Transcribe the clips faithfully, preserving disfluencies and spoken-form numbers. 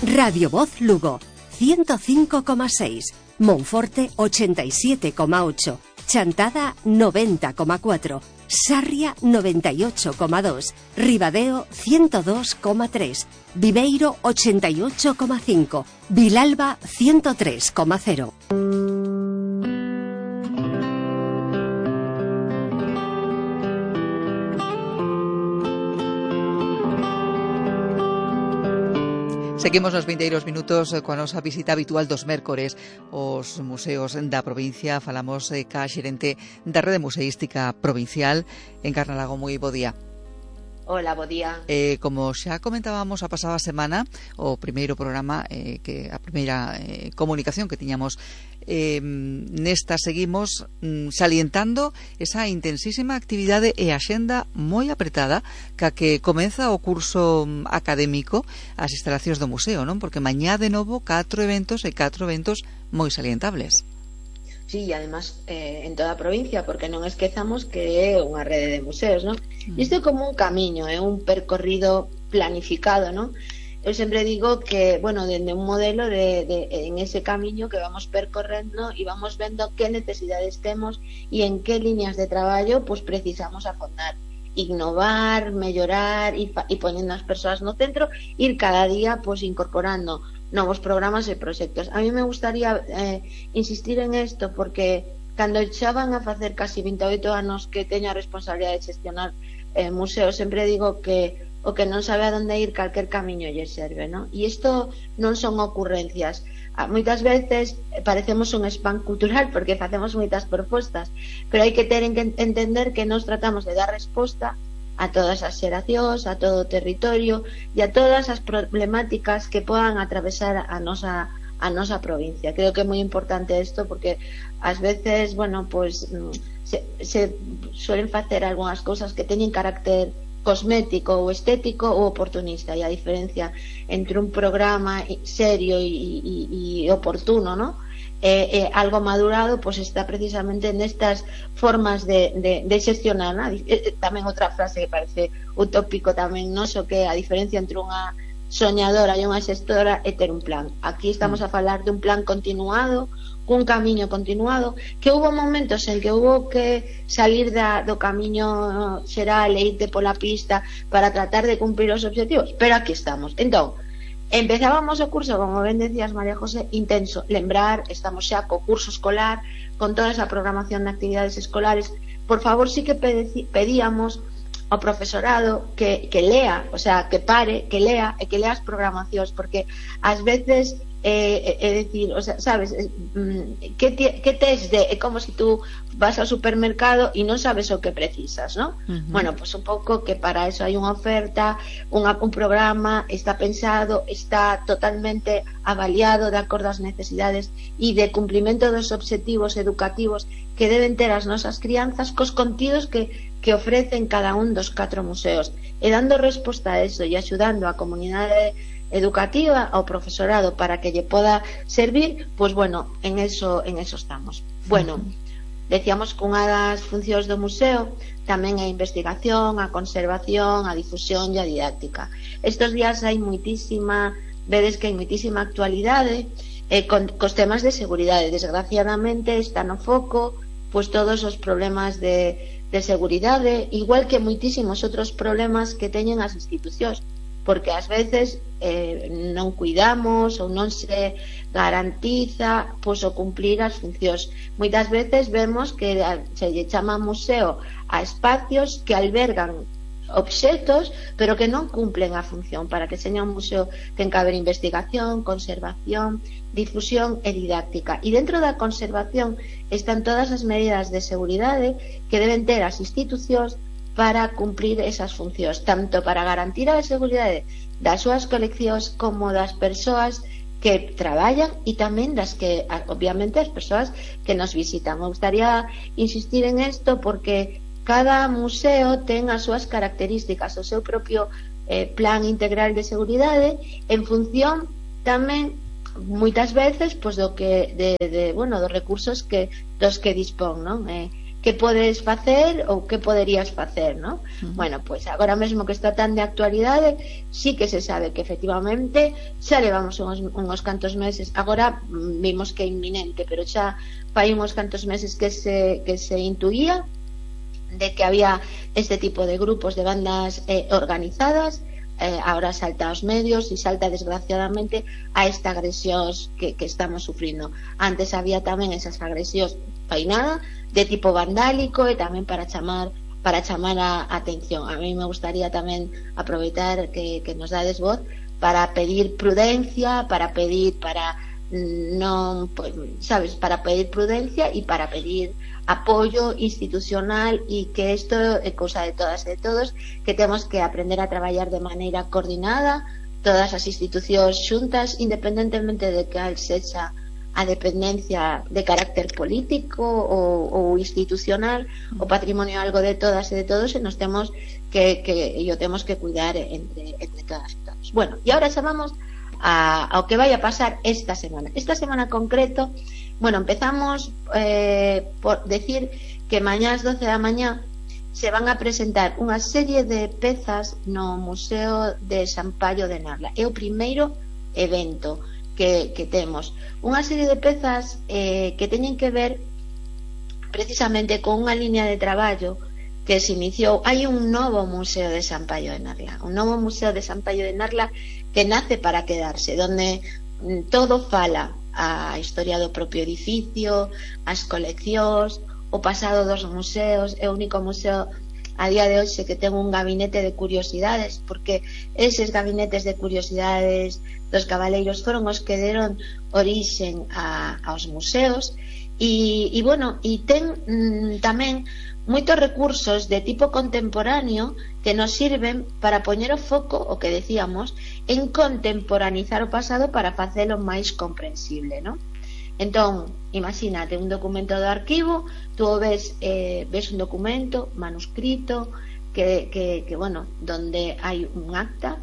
Radio Voz Lugo, ciento cinco coma seis, Monforte ochenta y siete coma ocho, Chantada noventa coma cuatro, Sarria noventa y ocho coma dos, Ribadeo ciento dos coma tres, Viveiro ochenta y ocho coma cinco, Vilalba ciento tres coma cero. Seguimos nos vindeiros minutos coa nosa visita habitual dos mércores aos museos da provincia. Falamos eh, ca xerente da Rede Museística Provincial. Encarna Lago, moi bo día. Hola, bo día. Eh, como xa comentábamos a pasada semana, o primeiro programa, eh, que a primeira eh, comunicación que tiñamos, eh, nesta seguimos mm, salientando esa intensísima actividade e axenda moi apretada ca que comeza o curso académico as instalacións do museo, non? Porque mañá de novo catro eventos e catro eventos moi salientables. Sí, e además eh, en toda a provincia, porque non esquezamos que é unha rede de museos, non? Mm. Isto é como un camiño, é un percorrido planificado, non? Eu sempre digo que, bueno, dende un modelo de, de, en ese camiño que vamos percorrendo e vamos vendo que necesidades temos e en que líneas de traballo pues precisamos afondar, innovar, mellorar e, e poniendo as persoas no centro, ir cada día pues incorporando novos programas e proxectos. A mí me gustaría eh, insistir en isto porque cando xa van a facer casi vinte e oito anos que teño a responsabilidade de xestionar eh, museos, sempre digo que o que non sabe a donde ir, calquer camiño lle serve, ¿no? E isto non son ocurrencias. Moitas veces parecemos un spam cultural porque facemos moitas propostas, pero hai que ter en que entender que nos tratamos de dar resposta a todas as xeracións, a todo o territorio e a todas as problemáticas que podan atravesar a nosa a nosa provincia. Creo que é moi importante isto porque ás veces, bueno, pues se, se suelen facer algunhas cousas que teñen carácter cosmético ou estético ou oportunista, e a diferencia entre un programa serio e, e, e oportuno, ¿no? Eh, eh, algo madurado, pues está precisamente nestas formas de, de, de xestionar, ¿no? Eh, tamén outra frase que parece utópico tamén noso, que a diferencia entre unha soñadora e unha xestora é ter un plan. Aquí estamos a falar de un plan continuado, cun camiño continuado, que hubo momentos en que hubo que salir da, do camiño xeral e irte pola pista para tratar de cumprir os objetivos, pero aquí estamos. Entón, empezábamos o curso, como ben decías, María José, intenso. Lembrar, estamos xa co curso escolar, con toda esa programación de actividades escolares. Por favor, sí que pedíamos ao profesorado que, que lea, o sea, que pare, que lea e que lea as programacións, porque ás veces é eh, eh, decir, o sea, sabes, eh, que, que tes de, é como se si tú vas ao supermercado e non sabes o que precisas, ¿no? Uh-huh. Bueno, pues un pouco que para eso hai unha oferta, unha, un programa está pensado, está totalmente avaliado de acordo ás necesidades e de cumplimento dos obxectivos educativos que deben ter as nosas crianzas, cos contidos que que ofrecen cada un dos catro museos, e dando resposta a eso e axudando a comunidade educativa, ao profesorado, para que lle poda servir, pues bueno, en eso, en eso estamos. Bueno, decíamos que unha das funcións do museo tamén é a investigación, a conservación, a difusión e a didáctica. Estos días hai moitísima, vedes que hai moitísima actualidade eh, con, cos temas de seguridade. Desgraciadamente está no foco pues todos os problemas de, de seguridade, igual que moitísimos outros problemas que teñen as institucións, porque ás veces eh, non cuidamos ou non se garantiza pois, o cumplir as funcións. Moitas veces vemos que se lle chama museo a espacios que albergan obxetos, pero que non cumplen a función. Para que seña un museo ten que haber investigación, conservación, difusión e didáctica. E dentro da conservación están todas as medidas de seguridade que deben ter as institucións para cumprir esas funcións, tanto para garantir a seguridade das súas coleccións como das persoas que traballan e tamén das que, obviamente, as persoas que nos visitan. Me gustaría insistir en isto porque cada museo ten as súas características, o seu propio eh, plan integral de seguridade en función tamén moitas veces pois, do que, de, de, bueno, dos recursos que, dos que dispón, non? Eh, que podes facer ou que poderías facer, ¿no? Uh-huh. Bueno, pois pues agora mesmo que está tan de actualidade, sí que se sabe que efectivamente xa levamos uns, uns cantos meses, agora vimos que é inminente, pero xa fai uns cantos meses que se, que se intuía de que había este tipo de grupos de bandas eh, organizadas. Eh, ahora salta aos medios e salta desgraciadamente a esta agresión que, que estamos sufrindo. Antes había tamén esas agresións fainada de tipo vandálico e tamén para chamar para chamar a atención. A mí me gustaría tamén aproveitar que, que nos dades voz para pedir prudencia, para pedir para non, pues, sabes, para pedir prudencia e para pedir apoio institucional e que isto é cousa de todas e de todos, que temos que aprender a traballar de maneira coordinada, todas as institucións xuntas, independentemente de que sexa a dependencia de carácter político ou, ou institucional, o patrimonio algo de todas e de todos, e nos temos que, que e o temos que cuidar entre, entre todas e todos. Bueno, e agora chamamos a, ao que vai a pasar esta semana. Esta semana concreto, bueno, empezamos eh, por decir que mañá ás doce da mañá se van a presentar unha serie de pezas no Museo de Sampaio de Narla. É o primeiro evento que, que temos. Unha serie de pezas eh, que teñen que ver precisamente con unha liña de traballo que se iniciou. Hai un novo Museo de Sampaio de Narla, un novo Museo de Sampaio de Narla que nace para quedarse, donde todo fala a historia do propio edificio, as coleccións, o pasado dos museos. É o único museo a día de hoxe que ten un gabinete de curiosidades, porque eses gabinetes de curiosidades dos cabaleiros foron os que deron orixen a, aos museos. E, e bueno, e ten mm, tamén moitos recursos de tipo contemporáneo que nos sirven para poñer o foco, o que decíamos, en contemporanizar o pasado para facelo máis comprensible, ¿no? Entón, imagínate un documento do arquivo, tú ves, eh, ves un documento manuscrito que, que, que, bueno, donde hai un acta,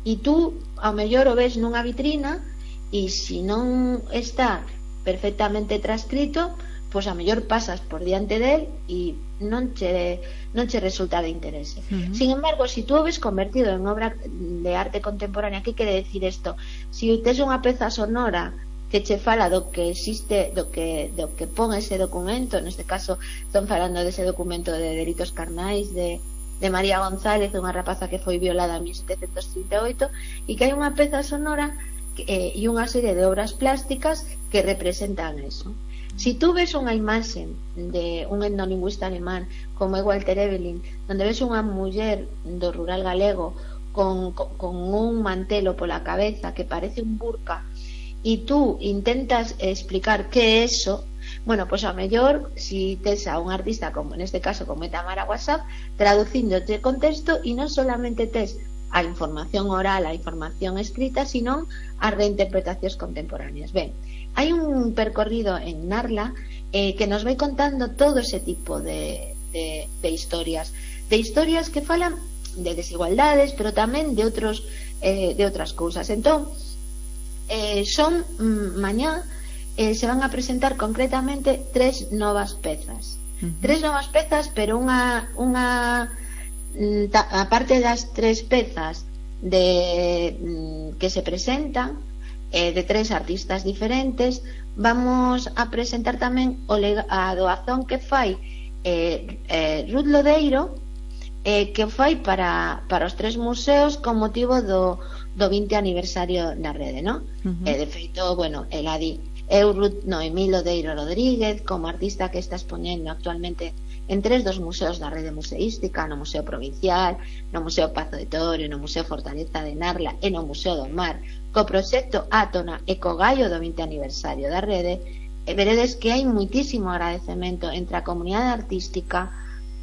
e tú ao mellor o ves nunha vitrina, e se non está perfectamente transcrito, pois a mellor pasas por diante del e non che, non che resulta de interese. Uh-huh. Sin embargo, se si tú o ves convertido en obra de arte contemporánea, que quere decir isto? Se si tes unha peza sonora que che fala do que existe, do que, do que pon ese documento, neste caso están falando dese documento de delitos carnais de, de María González, unha rapaza que foi violada en mil setecentos trinta e oito, e que hai unha peza sonora e eh, unha serie de obras plásticas que representan eso. Si tú ves unha imaxe de un etnolingüista alemán como é Walter Evelyn, donde ves unha muller do rural galego con, con, con un mantelo pola cabeza que parece un burka, e tú intentas explicar que é eso, bueno, pois a mellor si tes a un artista como neste caso como é Tamara WhatsApp traducíndote o contexto, e non solamente tes a información oral, a información escrita, sino as reinterpretacións contemporáneas. Ben, hai un percorrido en Narla eh, que nos vai contando todo ese tipo de, de, de historias, de historias que falan de desigualdades, pero tamén de outros eh, de outras cousas. Entón, eh, son mm, mañá eh, se van a presentar concretamente tres novas pezas. Uh-huh. Tres novas pezas, pero unha unha aparte das tres pezas de que se presentan eh, de tres artistas diferentes, vamos a presentar tamén o lega, a doazón que fai eh, eh, Ruth Lodeiro, eh, que fai para, para os tres museos con motivo do, do vinte aniversario da rede, ¿no? Uh-huh. eh, de feito, bueno, el adi eu Ruth Noemí Lodeiro Rodríguez como artista que está expoñendo actualmente en tres dos museos da rede museística, no Museo Provincial, no Museo Pazo de Torio, no Museo Fortaleza de Narla e no Museo do Mar, co proxecto Átona e co gallo do vinte aniversario da rede. E veredes que hai muitísimo agradecemento entre a comunidade artística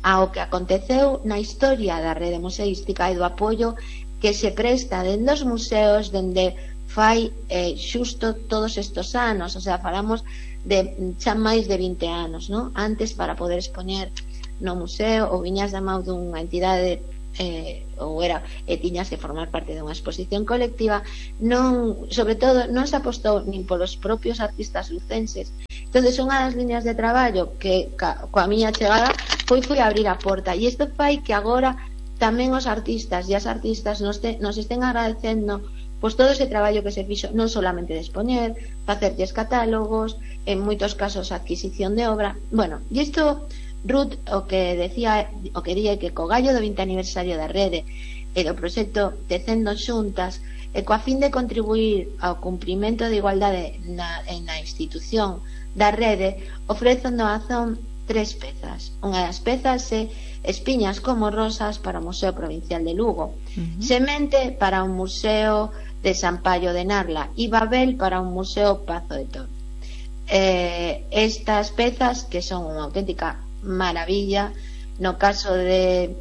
ao que aconteceu na historia da rede museística e do apoio que se presta dende os museos dende fai eh, xusto todos estes anos, o sea, falamos de xa máis de vinte anos, ¿no? Antes, para poder expoñer no museo ou viñas da mão dunha entidade eh, ou era e tiñas que formar parte dunha exposición colectiva, non, sobre todo non se apostou nin polos propios artistas lucenses Entonces, unha das líneas de traballo que ca, coa miña chegada foi foi abrir a porta, e isto fai que agora tamén os artistas e as artistas nos, te, nos estén agradecendo pois todo ese traballo que se fixo, non solamente de expoñer, facerlles catálogos, en moitos casos adquisición de obra. Bueno, e isto, Ruth, o que decía, o que día que co gallo do vinte aniversario da rede e do proxecto Tecendo Xuntas, e coa fin de contribuir ao cumprimento de igualdade na, na institución da rede, ofrece doazón tres pezas. Unha das pezas é Espiñas como Rosas para o Museo Provincial de Lugo, uh-huh. Semente para un museo de Sampaio de Narla e Babel para un museo Pazo de Toro. Eh, estas pezas, que son unha auténtica maravilla, no caso de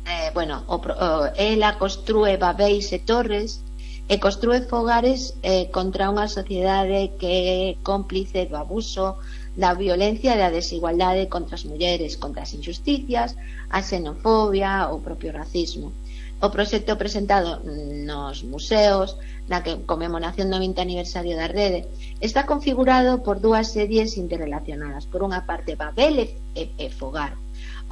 eh, bueno, o, o, ela construe babeis e torres e construe fogares eh, contra unha sociedade que é cómplice do abuso, da violencia e da desigualdade contra as mulleres, contra as injusticias, a xenofobia, o propio racismo. O proxecto presentado nos museos na que conmemoración do vinte aniversario da rede está configurado por dúas series interrelacionadas. Por unha parte, Babel e, e Fogar,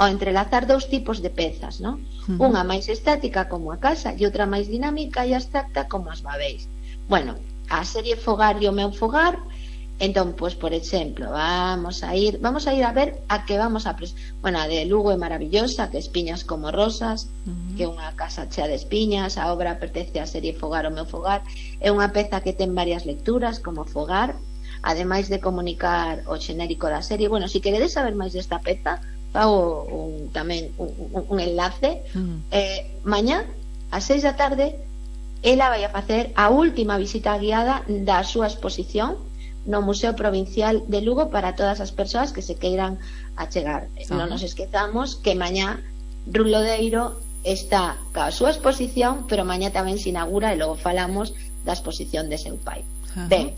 ao entrelazar dous tipos de pezas, ¿no? Uh-huh. Unha máis estática como a casa e outra máis dinámica e abstracta como as babeis. Bueno, a serie Fogar e o meu fogar, entón, pues, por exemplo, vamos a ir vamos a ir a ver a que vamos a pres... bueno, a de Lugo é maravillosa, que Espiñas como Rosas, uh-huh. que é unha casa chea de espiñas. A obra pertence á serie Fogar o meu fogar, é unha peza que ten varias lecturas como Fogar, ademais de comunicar o xenérico da serie. Bueno, se si queredes saber máis desta peza, fago un, tamén un, un, un enlace. uh-huh. eh, mañá ás seis da tarde ela vai a facer a última visita guiada da súa exposición no Museo Provincial de Lugo para todas as persoas que se queiran achegar. uh-huh. Non nos esquezamos que mañá Ruth Lodeiro está ca súa exposición, pero mañá tamén se inaugura e logo falamos da exposición de seu pai. uh-huh. Ben,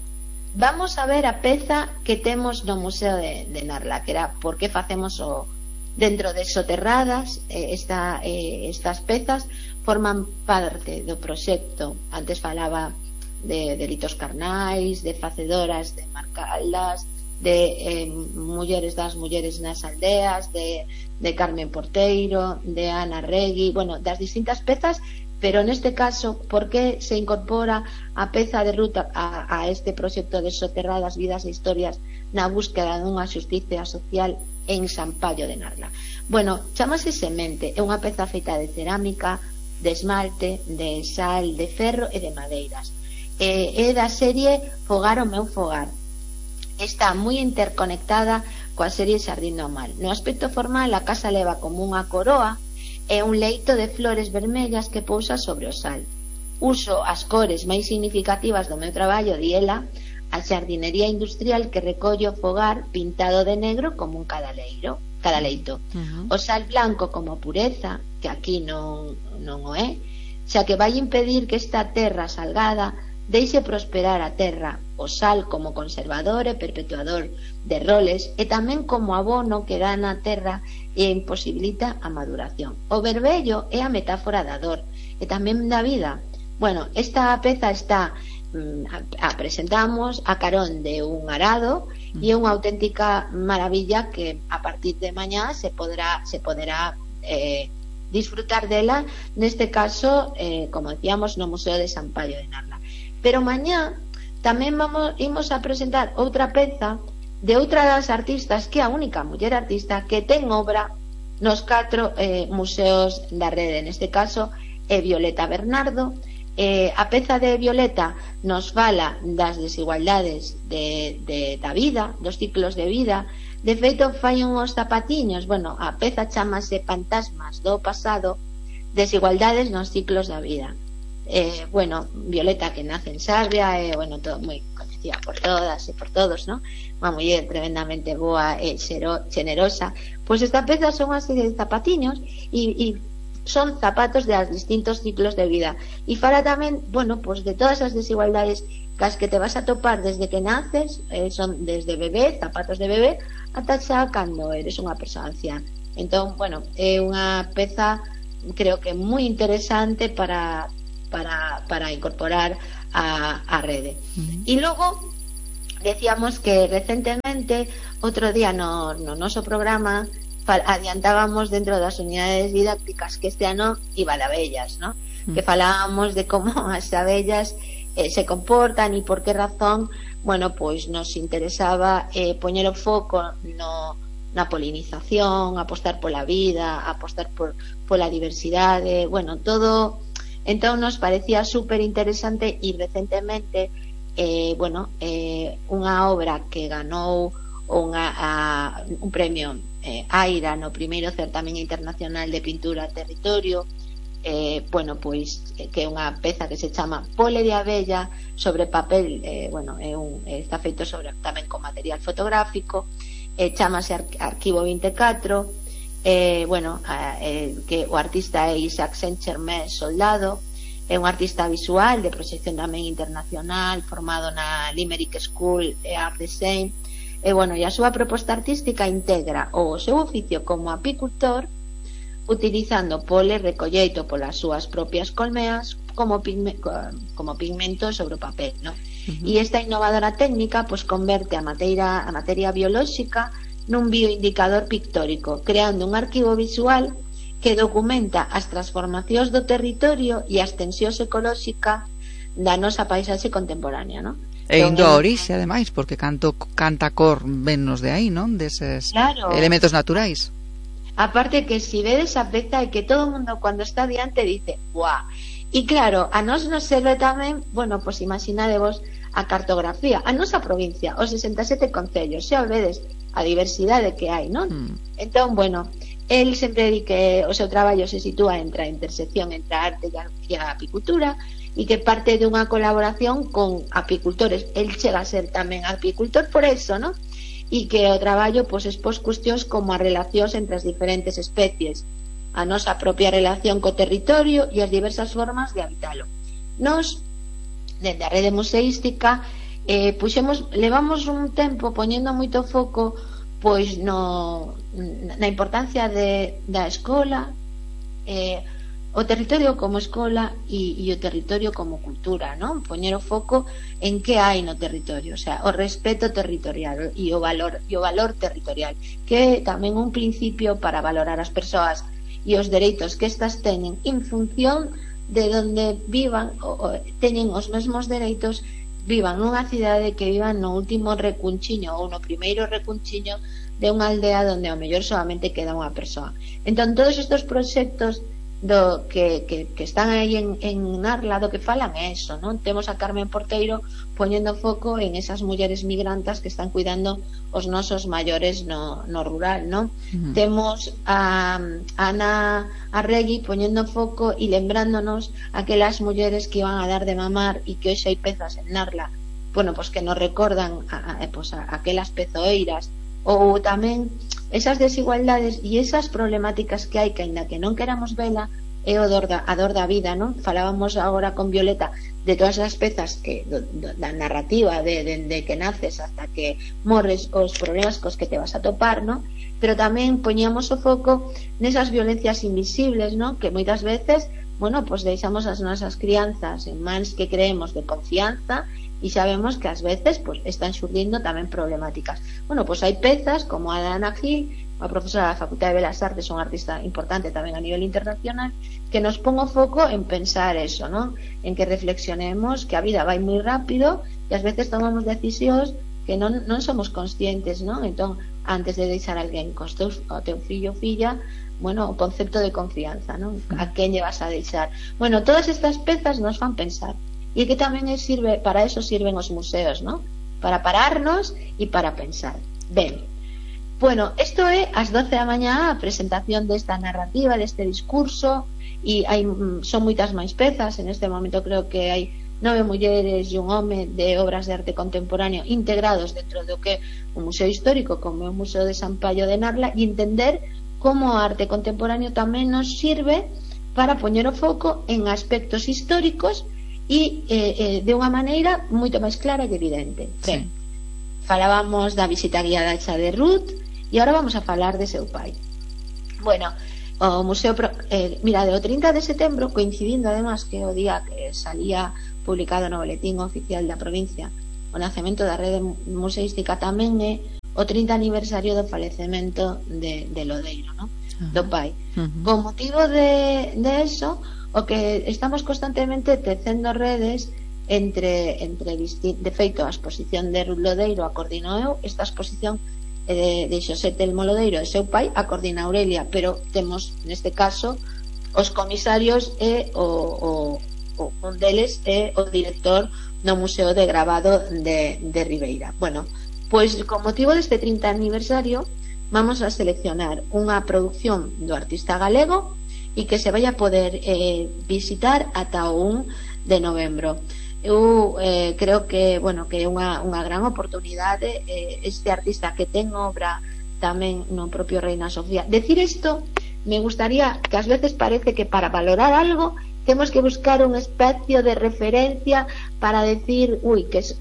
vamos a ver a peza que temos no Museo de, de Narla, que era por que facemos o dentro de Soterradas. eh, esta, eh, estas pezas forman parte do proxecto. Antes falaba de delitos carnais, de facedoras de Marcaldas, de eh, mulleres das mulleres nas aldeas, de, de Carmen Porteiro, de Ana Regui, bueno, das distintas pezas, pero neste caso, por que se incorpora a peza de ruta a, a este proxecto de Soterradas, vidas e historias na búsqueda dunha xusticia social en Sampaio de Narla? Bueno, chamase Semente, é unha peza feita de cerámica, de esmalte, de sal, de ferro e de madeiras. É, é da serie Fogar o meu fogar. Está moi interconectada coa serie Xardín do Mal. No aspecto formal, a casa leva como unha coroa e un leito de flores vermellas que pousa sobre o sal. Uso as cores máis significativas do meu traballo, di ela, a xardinería industrial que recolle o fogar pintado de negro como un cadaleiro, cadaleito. Uh-huh. O sal blanco como pureza, que aquí non, non o é, xa que vai impedir que esta terra salgada deixe prosperar a terra. O sal como conservador e perpetuador de roles e tamén como abono que dá na terra e imposibilita a maduración. O vermello é a metáfora da dor e tamén da vida. Bueno, esta peza está a presentamos a carón de un arado e é unha auténtica maravilla que a partir de mañá se podrá se poderá eh, disfrutar dela, neste caso eh, como decíamos no Museo de Sampaio de Narla. Pero mañá tamén vamos imos a presentar outra peza de outra das artistas, que é a única muller artista que ten obra nos catro eh, museos da rede. Neste caso é Violeta Bernardo. Eh, a peza de Violeta nos fala das desigualdades de, de, da vida, dos ciclos de vida. De feito, fai uns zapatiños. Bueno, a peza chamase Fantasmas do pasado, desigualdades nos ciclos da vida. Eh, bueno, Violeta, que nace en Sarria, é eh, bueno, todo moi conocida por todas e por todos, ¿no? Unha muller tremendamente boa e xenerosa. Pois esta peza son unha serie de zapatiños e, e son zapatos de los distintos ciclos de vida e fala tamén, bueno, pues de todas as desigualdades cas que te vas a topar desde que naces, eh, son desde bebé, zapatos de bebé, ata xa cando eres unha persoa anciana. Entón, bueno, é unha peza creo que moi interesante para para, para incorporar a, a rede. Uh-huh. E logo decíamos que recentemente, outro día no, no noso programa, adiantábamos dentro das unidades didácticas que este ano iba de abellas, ¿no? Mm. Que falábamos de como as abellas eh, se comportan e por que razón. Bueno, pois nos interesaba eh, poñer o foco no, na polinización, apostar pola vida, apostar por pola diversidade, bueno, todo. Entón nos parecía super interesante e recentemente eh, bueno, eh, unha obra que ganou unha, a, un premio eh, AIRA no primeiro certamen internacional de pintura a territorio, eh, bueno, pois que é unha peza que se chama Pole de abella sobre papel, eh, bueno, é un, está feito sobre tamén con material fotográfico, eh, chamase Ar Arquivo vinte e catro, eh, bueno, eh, que o artista é Isaac Saint-Germain Soldado, é un artista visual de proxección tamén internacional, formado na Limerick School e Art Design, e bueno, e a súa proposta artística integra o seu oficio como apicultor, utilizando pole recolleito polas súas propias colmeas como, pigme, como pigmento sobre o papel, ¿no? Uh-huh. E esta innovadora técnica pues, converte a materia, a materia biolóxica nun bioindicador pictórico, creando un arquivo visual que documenta as transformacións do territorio e a extensión ecolóxica da nosa paisaxe contemporánea, ¿no? E indo a orixe, ademais, porque canto canta cor vennos de aí, non? Deses claro. Elementos naturais. Aparte que si vedes a peza e que todo o mundo cando está diante dice, guau. E claro, a nos nos serve tamén, bueno, pois pues imaginadevos a cartografía, a nosa provincia, os sesenta e sete concellos, xa vedes a diversidade que hai, non? Mm. Entón, bueno, el sempre di que o seu traballo se sitúa entre a intersección entre a arte e a apicultura e que parte dunha colaboración con apicultores. El chega a ser tamén apicultor por eso, ¿no? E que o traballo pois, expós cuestións como as relacións entre as diferentes especies, a nosa propia relación co territorio e as diversas formas de habitalo. Nos, dende a rede museística, eh, puxemos, levamos un tempo poñendo moito foco pois no, na importancia de, da escola, eh, o territorio como escola e, e o territorio como cultura, non? Poñer o foco en que hai no territorio, o sea, o respeto territorial e o valor e o valor territorial, que é tamén un principio para valorar as persoas e os dereitos que estas teñen en función de onde vivan, o, o, teñen os mesmos dereitos, vivan nunha cidade que vivan no último recunchiño ou no primeiro recunchiño de unha aldea onde ao mellor solamente queda unha persoa. Entón, todos estes proxectos do que, que, que están aí en, en Narla, do que falan é eso, non? Temos a Carmen Porteiro poñendo foco en esas mulleres migrantas que están cuidando os nosos maiores no, no rural, non? Uh-huh. Temos a, a Ana Arregui poñendo foco e lembrándonos aquelas mulleres que iban a dar de mamar e que hoxe hai pezas en Narla, bueno, pois que nos recordan a, a, pois a, a aquelas pezoeiras, ou tamén esas desigualdades e esas problemáticas que hai que aínda que non queramos vela é o dor da, a dor da vida, non? Falábamos agora con Violeta de todas as pezas que, do, do, da narrativa de, de, de que naces hasta que morres, os problemas cos que te vas a topar, non? Pero tamén poñíamos o foco nesas violencias invisibles, non? Que moitas veces, bueno, pues deixamos as nosas crianzas en mans que creemos de confianza e sabemos que ás veces pues, están xurdindo tamén problemáticas. Bueno, pues hai pezas como a de Ana Gil, a profesora da Facultade de Belas Artes, un artista importante tamén a nivel internacional, que nos pon o foco en pensar eso, ¿no? En que reflexionemos que a vida vai moi rápido e ás veces tomamos decisións que non, non somos conscientes, ¿no? Entón, antes de deixar a alguén cos teus, o teu fillo ou filla, bueno, o concepto de confianza, ¿no? A quen lle vas a deixar. Bueno, todas estas pezas nos fan pensar. E que tamén sirve, para eso sirven os museos, ¿no? Para pararnos e para pensar. Ben, bueno, isto é ás doce da mañá a presentación desta narrativa, deste discurso, e hai, son moitas máis pezas. En este momento creo que hai nove mulleres e un home de obras de arte contemporáneo integrados dentro do que é un museo histórico como é o Museo de San Paio de Narla, e entender como o arte contemporáneo tamén nos sirve para poñer o foco en aspectos históricos e eh, eh, de unha maneira moito máis clara e evidente. Ben, sí. Falábamos da visita guiada xa de Ruth e agora vamos a falar de seu pai. Bueno, o museo eh, mira, o trinta de setembro, coincidindo además que o día que salía publicado no boletín oficial da provincia o nacemento da rede museística tamén é o trinta aniversario do falecemento de, de Lodeiro, ¿no? Uh-huh. Do pai. Uh-huh. Con motivo de, de eso, o que estamos constantemente tecendo redes entre, entre disti- de feito, a exposición de Ruth Lodeiro a coordino eu, esta exposición de, de Xosé Telmo Lodeiro e seu pai a coordina Aurelia, pero temos neste caso os comisarios e o, o, o un deles é o director no Museo de Gravado de, de Ribeira. Bueno, pois con motivo deste trinta aniversario vamos a seleccionar unha produción do artista galego e que se vai a poder eh, visitar ata o un de novembro. Eu eh, creo que, bueno, que é unha, unha gran oportunidade eh, este artista que ten obra tamén no propio Reina Sofía. Decir isto, me gustaría, que ás veces parece que para valorar algo temos que buscar un espacio de referencia para decir, uy, que es,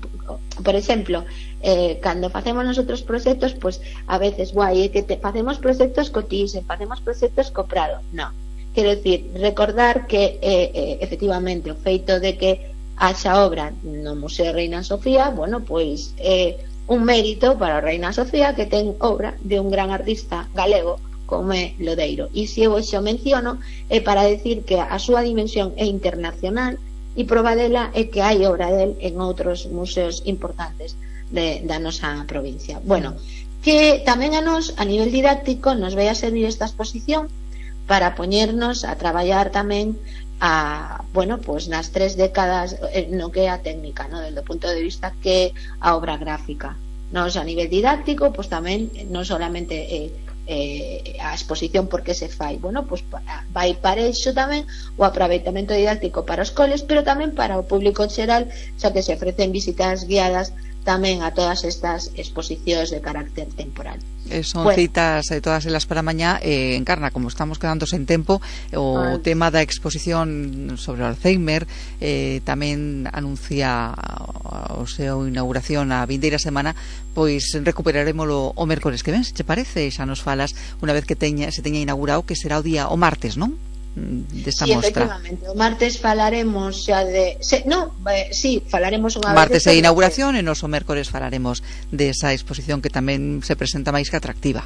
por exemplo, eh, cando facemos nosotros proxectos, pues a veces, guai, eh, que te, facemos proxectos co Thyssen, facemos proxectos co Prado. No, quero decir, recordar que eh, eh, efectivamente o feito de que haxa obra no Museo Reina Sofía, bueno, pois é eh, un mérito para a Reina Sofía que ten obra de un gran artista galego como é Lodeiro. E se eu xo menciono é para decir que a súa dimensión é internacional e prova dela é que hai obra del en outros museos importantes de, da nosa provincia. Bueno, que tamén a nos, a nivel didáctico, nos vai a servir esta exposición para poñernos a traballar tamén a, bueno, pues nas tres décadas no que é a técnica, no, desde o punto de vista que a obra gráfica. Nos a nivel didáctico, pues tamén non solamente eh, eh, a exposición porque se fai, bueno, pues vai para iso tamén o aproveitamento didáctico para os coles, pero tamén para o público en xeral, xa que se ofrecen visitas guiadas tamén a todas estas exposicións de carácter temporal. Eh, son bueno. citas eh, todas elas para mañá. eh, Encarna, como estamos quedando sen tempo, o ah. tema da exposición sobre o Alzheimer eh, tamén anuncia o seu inauguración a vindeira semana, pois recuperaremoslo o mércores que ven, se te parece? Xa nos falas unha vez que teña, se teña inaugurado, que será o día o martes, non? Desta sí, mostra. Efectivamente, o martes falaremos xa de, se, no, eh, sí, falaremos unha martes vez de inauguración e nos o mércores falaremos desa exposición que tamén se presenta máis que atractiva.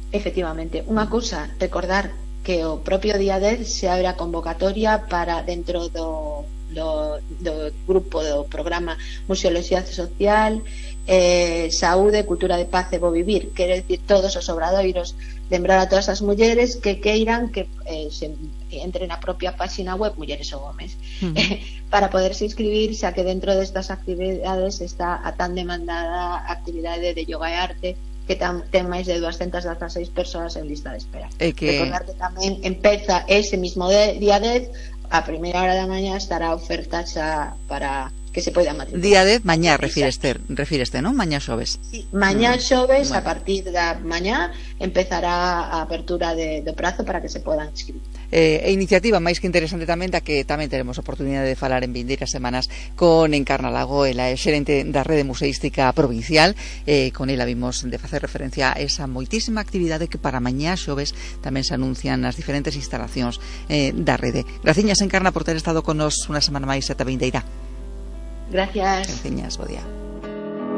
Efectivamente, unha cousa, recordar que o propio día dez se abre a convocatoria para dentro do, do, do grupo do programa Museoloxía Social, eh, Saúde, Cultura de Paz e Bo Vivir, quero dicir todos os obradoiros, lembrar a todas as mulleres que queiran que eh, se entren na propia página web Mulleres o Gómez uh-huh. eh, para poderse inscribir, xa que dentro destas actividades está a tan demandada actividade de yoga e arte que tam, ten máis de doscientas dieciséis persoas en lista de espera. E que... recordar que tamén empeza ese mismo de, día dez, a primeira hora da mañá estará a oferta xa para que se poida matricular. Día dez, mañá refíreste, refíreste, non? Mañá xoves. Sí, mañá xoves, mm. bueno. A partir da mañá empezará a apertura de, do prazo para que se podan inscribir. Eh, e iniciativa máis que interesante tamén, da que tamén teremos oportunidade de falar en vindeiras semanas con Encarna Lago, ela é xerente da Rede Museística Provincial, eh, con ela vimos de facer referencia a esa moitísima actividade que para mañá xoves tamén se anuncian nas diferentes instalacións eh, da rede. Graciñas, Encarna, por ter estado con nos unha semana máis ata vindeira. Gracias. Graciñas, bo día.